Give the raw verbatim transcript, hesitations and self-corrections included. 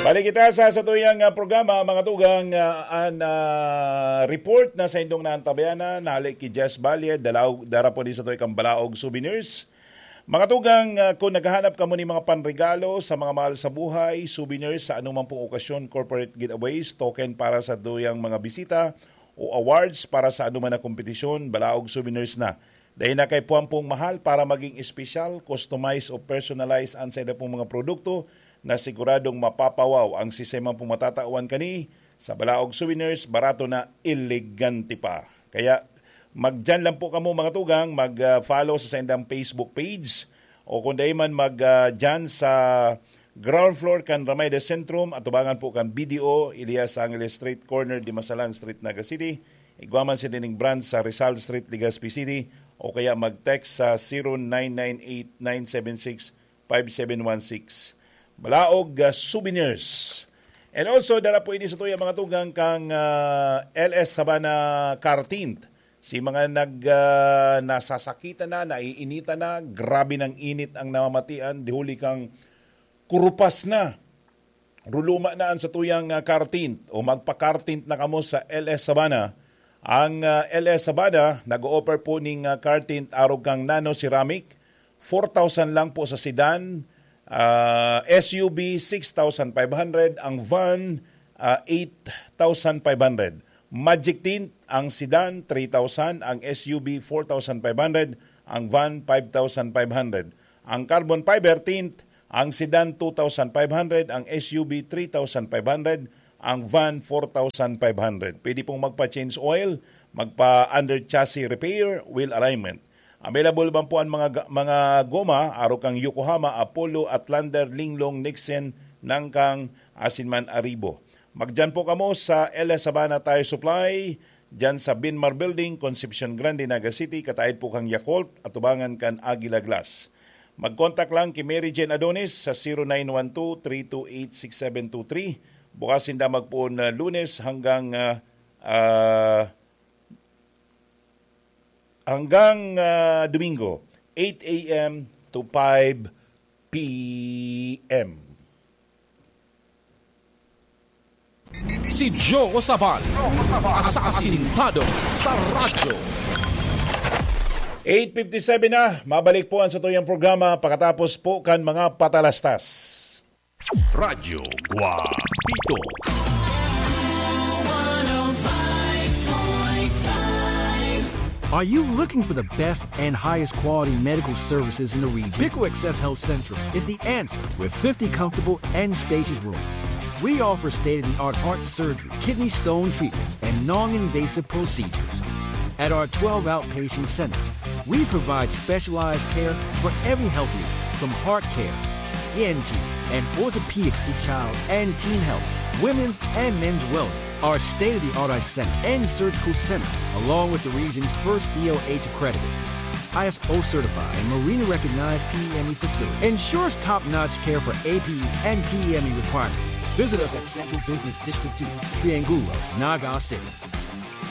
Balik kita sa satuyang, ah, programa, mga tugang, ah, an, ah, report na saindong naantabayan na, nahali ki Jess Valle, dalaw-, dara po ni satuya kang Balaog Souvenirs. Mga tugang, ah, kung naghahanap kamo ni mga panregalo sa mga mahal sa buhay, souvenirs sa anumang pong okasyon, corporate giveaways, token para sa tuyang mga bisita o awards para sa anuman na kompetisyon, Balaog Souvenirs na. Dai na kay puwang pong mahal para maging espesyal, customize o personalize an saida pong mga produkto na siguradong mapapawaw ang siisay man pong matatawan kani sa Balaog Souvenirs, barato na, elegante pa. Kaya magdiyan lang po kamo, mga tugang, mag, ah, follow sa saindang Facebook page o kung dai man mag, ah, diyan sa ground floor kan Ramay de Centrum, atubangan po kan B D O, Elias Angeles Street, corner Dimasalan Street, Naga City. Igwa man sila ning branch sa Rizal Street, Legazpi City, o kaya mag-text sa zero nine nine eight nine seven six five seven one six. Balaog, ah, Souvenirs. And also, dara po ini sa tuya, mga tugang, kang, ah, L S Sabana Car Tint. Si mga nag, ah, nasasakitan na, naiinitan na, grabe ng init ang namamatian, di huli kang kurupas na, ruluma na an satuyang, ah, car tint o magpa-car tint na kamo sa L S Sabana. Ang, ah, L S Sabana nag-o-offer po ning, ah, car tint arog kang nano ceramic, four thousand lang po sa sedan, ah, S U V six thousand five hundred, ang van, ah, eight thousand five hundred. Magic tint ang sedan, three thousand, ang S U V, four thousand five hundred, ang van, five thousand five hundred. Ang carbon fiber tint, ang sedan, two thousand five hundred, ang S U V, three thousand five hundred, ang van, four thousand five hundred. Pwede pong magpa-change oil, magpa-under chassis repair, wheel alignment. Available man po ang mga ga-, mga goma, arog kang Yokohama, Apollo, Outlander, Linglong, Nixon, Nangkang, asin man Arribo. Magdiyan po kamo sa L S Sabana Tire Supply, diyan sa Binmar Building, Concepcion Grande, Naga City, kataid po kang Yakult, atubangan kan Aguila Glass. Mag-contact lang ki Mary Jane Adonis sa zero nine one two three two eight six seven two three. Bukas sinda magpoon na Lunes hanggang, ah, ah, hanggang, ah, Domingo, eight A M to five P M. Si Joe Sabal, asasintado sa radyo. Eight fifty-seven na, mabalik po ang satuyang programa pakatapos po kan mga patalastas. Radyo Guapito. Are you looking for the best and highest quality medical services in the region? Pico Access Health Central is the answer with fifty comfortable and spacious rooms. We offer state-of-the-art heart surgery, kidney stone treatments, and non-invasive procedures. At our twelve outpatient centers, we provide specialized care for every health need, from heart care, E N T, and orthopedics to child and teen health, women's and men's wellness. Our state-of-the-art eye center and surgical center, along with the region's first D O H accredited, I S O certified, and Marina recognized P E M E facility, ensures top-notch care for A P E and P E M E requirements. Visit us at Central Business District two, Triangulo, Naga City.